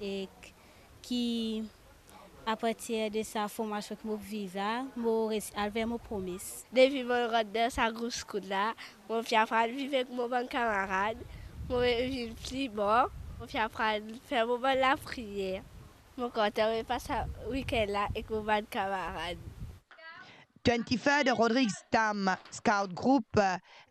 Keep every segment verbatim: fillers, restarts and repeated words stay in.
Ek ki apartir de sa formasion ki mo viv la, mo resi al ver mo promes. Depi mo rant dan sa group skout la, mo finn aprann viv ek mo bann kamarad, mo vinn pli bon, mo finn aprann fer mo bann lapriyer. Mo kontan mo pas sa wikenn la ek mo bann kamarad. Twenty-third Rodrigues Tam Scout Group,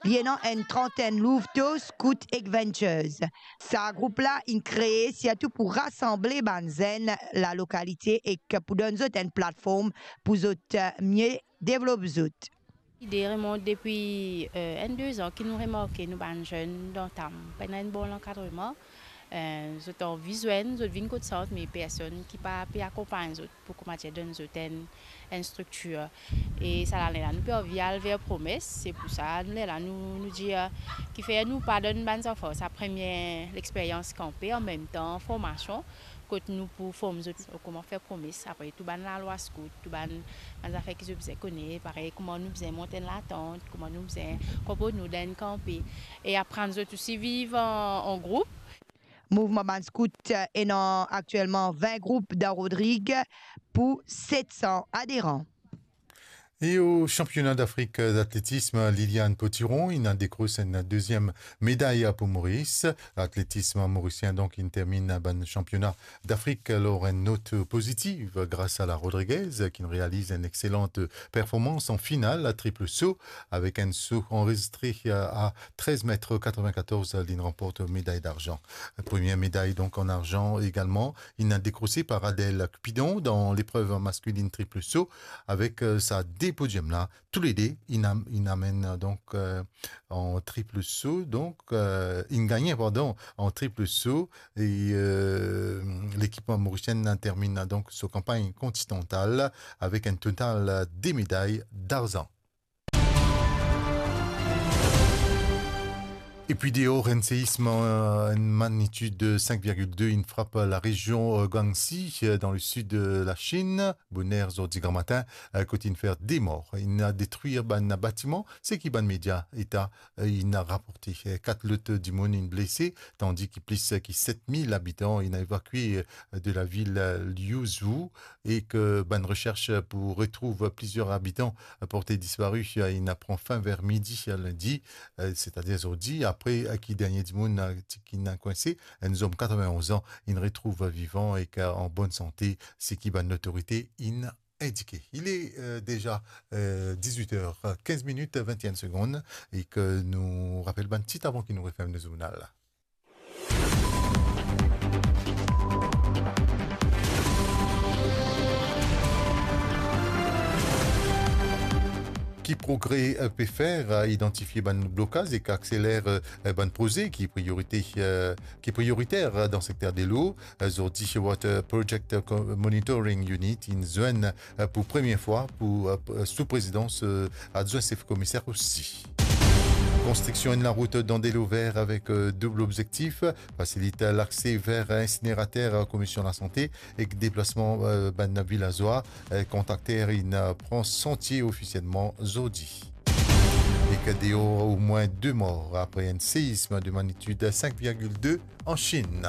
li ena enn trantenn louv to scout ek ventures. Sa group la inn kree sirtou pou rasanble bann zenn lalokalite ek pou donn zot enn platform pou zot, eh, mie devlop zot. Lide remont depi, eh, enn de zan ki nou remarke nou bann zenn dan Tam pena enn bon lankadreman. Eh, zot anvi zwenn, zot vinn kot sant, me personn ki pa pe akonpagn zot pou, kouma dir, donn zot enn, enn striktir. E sa lane la, nou pe anvi al ver promes, se pou sa, nou lerla, nou, nou dir, eh, kifer nou pa donn bann zanfan sa premie lexperyans kanpe, anmemtan formasion, kot nou pou form zot kouma fer promes, apre tou bann lalwa skout, tou bann, bann zafer ki zot bizin kone, parey kouma nou bizin mont enn latant, kouma nou bizin konport nou dan enn kanpe, e aprann zot osi viv an, an group. Mouvman bann skout, eh, ena aktielman vin group dan Rodrig pou set san aderan. E o sanpiona d'Afrik d'atletism, Liliane Potiron inn dekros enn deziem meday pou Moris. Atletism morisien, donk, inn terminn bann sanpiona d'Afrik lor enn not pozitiv gras a la Rodriguez, ki'nn realiz enn exselant performans an final trip so, avek enn so anrezistre a trez met katrevinkatorz, li'nn ranport meday darzan. Premie meday, donk, an arzan egalman, inn dekrose par Adèle Cupidon dan leprev maskelin trip so, avek, eh, sa de podiom la, toulede inn am-, inn amenn, donk, eh, an trip so, donk, eh, inn gagne, pardon, an trip so, e, eh, lekip morisienn terminn, donk, so kanpagn konsistantal avek enn total de meday darzan. Epi deor, enn seism, eh, enn magnitid sink virgil de inn frap larezion, eh, Guangxi, eh, dan lesid, eh, Lasinn, boner zordi gramatin, eh, kot inn fer de mor. Inn detrir bann batiman, seki bann media eta, eh, inn raporte. Eh, kat lot dimoun inn blese, tandi ki plis ki set mil abitan inn evakwe, eh, de lavil, eh, Liuzhou, e ki bann resers pou retrouv plizier abitan porte dispari, eh, inn pran fin ver midi, eh, lindi, eh, setadir zordi, apre, eh, ki dernie dimoun, eh, ti, ki'nn kwinse, enn zom katrevinonz an, inn retrouv vivan ek, eh, an bonn sante, seki bann lotorite inn indike. Il est, eh, déjà, eh, dix-huit heures quinze minutes vingt et une secondes, e ki nou rapel bann tit avan ki nou referm nou zournal. Ki progre, eh, pe fer, eh, idantifie bann blokaz ek akseler, eh, bann proze ki priorite, eh, ki prioriter, eh, dan sekter delo. Eh, zordi, Water Project Co-, Monitoring Unit inn zwenn, eh, pou premie fwa pou, eh, sou prezidans, eh, adwin sef komiser osi. Konstriksion enn larout dan delo ver avek, eh, doub lobzektif, fasilit lakse ver insinerater, eh, Komisyon Lasante ek deplasman, eh, bann vilazwa, eh, kontrakter inn, eh, pran santie ofisielman zordi. Ek deor omwin de mor apre enn seism de magnitid sink virgil de an Chinn.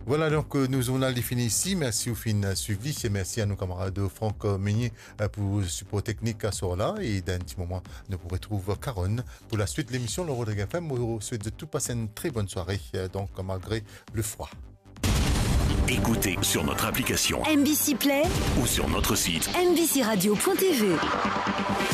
Vwala, donk, eh, nou zournal li fini isi. Mersi ou finn swiv li. E mersi a nou kamarad Franck Meunier, eh, pou sipor teknik aswar la. E dan enn ti moman, nou pou retrouv Caron pou laswit lemision lor Rodrigues F M. Mo swet zot tou pas enn tre bonn sware, eh, donk, malgre lefrwa. Écoutez sur notre application M B C Play ou sur notre site M B C radio point T V.